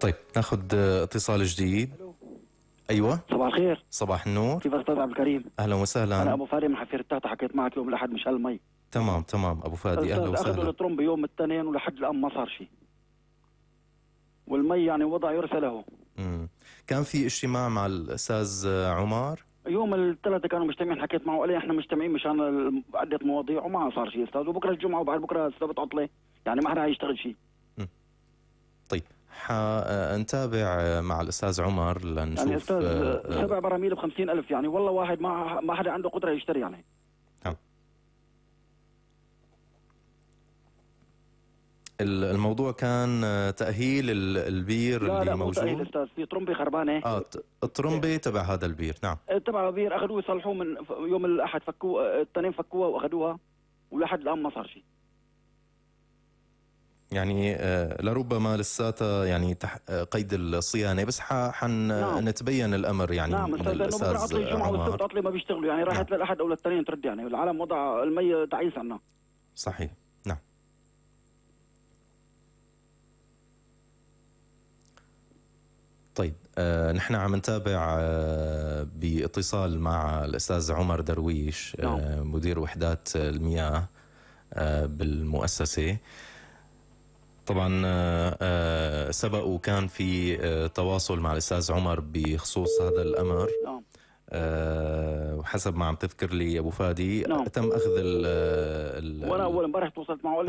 طيب ناخد اتصال جديد. ايوه صباح الخير. صباح النور. كيف استاذ عبد الكريم؟ اهلا وسهلا. انا ابو فادي من حفير التاتا، حكيت معك يوم الاحد مشان المي. تمام ابو فادي اهلا وسهلا. اخذوا الترمب يوم الاثنين ولحد الان ما صار شيء، والمي يعني وضع يرثى له. كان في اجتماع مع الاستاذ عمر يوم الثلاثة كانوا مجتمعين، حكيت معه قال لي احنا مجتمعين مشان عدة مواضيع وما صار شيء استاذ، وبكره الجمعة وبعد بكره السبت عطلة، يعني ما حدا حيشتغل شيء. طيب حنتابع مع الاستاذ عمر لنشوف. يعني استاذ 7 براميل ب50,000، يعني والله واحد ما حدا عنده قدرة يشتري يعني. الموضوع كان تأهيل البير لا اللي لا موجود. لا مو تأهيل استاذ، في طرمبة خربانة. الطرمبة تبع هذا البير. نعم تبع بير، اخذوه يصلحوه من يوم الاحد، فكوه الاثنين، فكوها واخذوها ولحد الان ما صار شيء. يعني لربما لساتها يعني قيد الصيانه، بس حنتبين الامر يعني. نعم من الاستاذ عمر. عطلة الجمعة والسبت عطلة ما بيشتغلوا، يعني راحت للاحد او للتنين ترد، يعني العالم وضع المي تعيس عنا. صحيح. نعم. طيب نحن عم نتابع باتصال مع الاستاذ عمر درويش. مدير وحدات المياه بالمؤسسة. طبعا سبق وكان في تواصل مع الأستاذ عمر بخصوص هذا الأمر. وحسب ما عم تذكر لي أبو فادي تم أخذ وأنا أول امبارح تواصلت معه